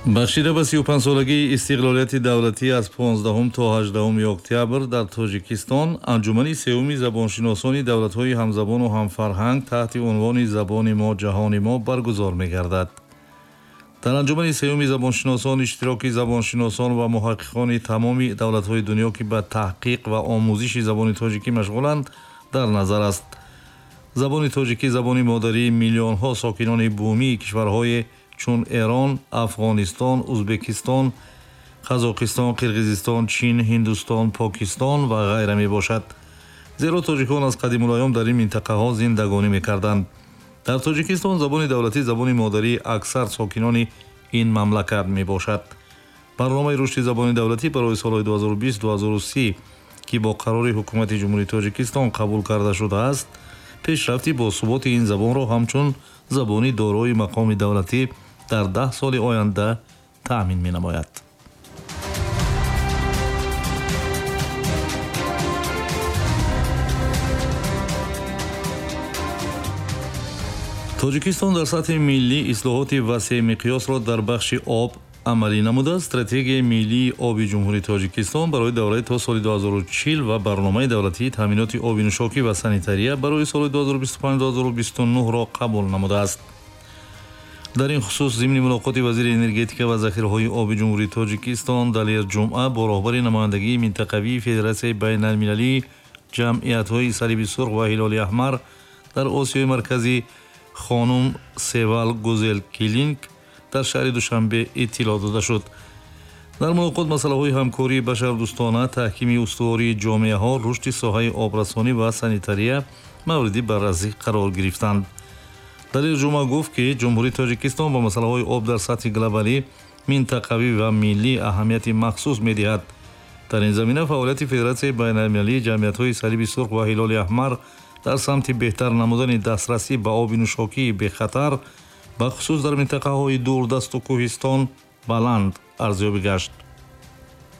Бахшида ба 35-солагии истиқлолияти давлатӣ аз 15 то 18 октябр дар Тоҷикистон анҷумани сеюми забоншиносони давлатҳои ҳамзабону ҳамфарҳанг таҳти унвони «Забони мо, ҷаҳони мо» баргузор мегардад. Дар анҷумани сеюми забоншиносон иштироки забоншиносон ва муҳаққиқони тамоми давлатҳои дунё, ки ба таҳқиқ ва омӯзиши забони тоҷикӣ машғуланд, дар назар аст. Забони тоҷикӣ забони модарии миллионҳо сокинони бумии кишварҳое чун Эрон, Афғонистон, Узбекистон, Қазоқистон, Қирғизистон, Чин, Ҳиндустон, Покистон ва ғайра мебошад. Зеро тоҷикон аз қадимулайём дар ин минтақаҳо зиндагонӣ мекарданд. Дар Тоҷикистон забони давлатӣ забони модарии аксар сокинони ин мамлакат мебошад. Барномаи рушди забони давлатӣ барои солҳои 2020-2030, ки бо қарори Ҳукумати Ҷумҳурии Тоҷикистон қабул карда шудааст, пешрафти босуботи ин забонро ҳамчун забони дорои мақоми давлатӣ дар 10 соли оянда таъмин менамояд. Тоҷикистон дар сатҳи миллӣ ислоҳоти васеъмиқёсро дар бахши об амалӣ намуда, стратегияи миллии оби Ҷумҳурии Тоҷикистон барои давраи то соли 2040 ва барномаи давлатии таъминоти оби нӯшокӣ ва санитария барои соли 2025-2029-ро қабул намудааст. Дар ин хусус зимни мулоқоти вазири энергетика ва захираҳои оби Ҷумҳурии Тоҷикистон Далер Ҷумъа бо роҳбари намояндагии минтақавии Федератсияи байналмилалии ҷамъиятҳои Салиби Сурх ва Ҳилоли Аҳмар дар Осиёи Марказӣ хонум Севал Гузел Килинг дар шаҳри Душанбе иттилоъ дода шуд. Дар мулоқот масъалаҳои ҳамкории башардӯстона, таҳкими устувории ҷомеаҳо, рушди соҳаи обрасонӣ ва санитария мавриди баррасӣ қарор гирифтанд. Далер Ҷумъа гуфт, ки Ҷумҳурии Тоҷикистон ба масъалаҳои об дар сатҳи глобалӣ, минтақавӣ ва миллӣ аҳамияти махсус медиҳад. Дар ин замина фаъолияти Федератсияи байналмилалии ҷамъиятҳои Салиби Сурх ва Ҳилоли Аҳмар дар самти беҳтар намудани дастрасӣ ба оби нӯшокии бехатар, бахусус дар минтақаҳои дурдасту кӯҳистон, баланд арзёбӣ гашт.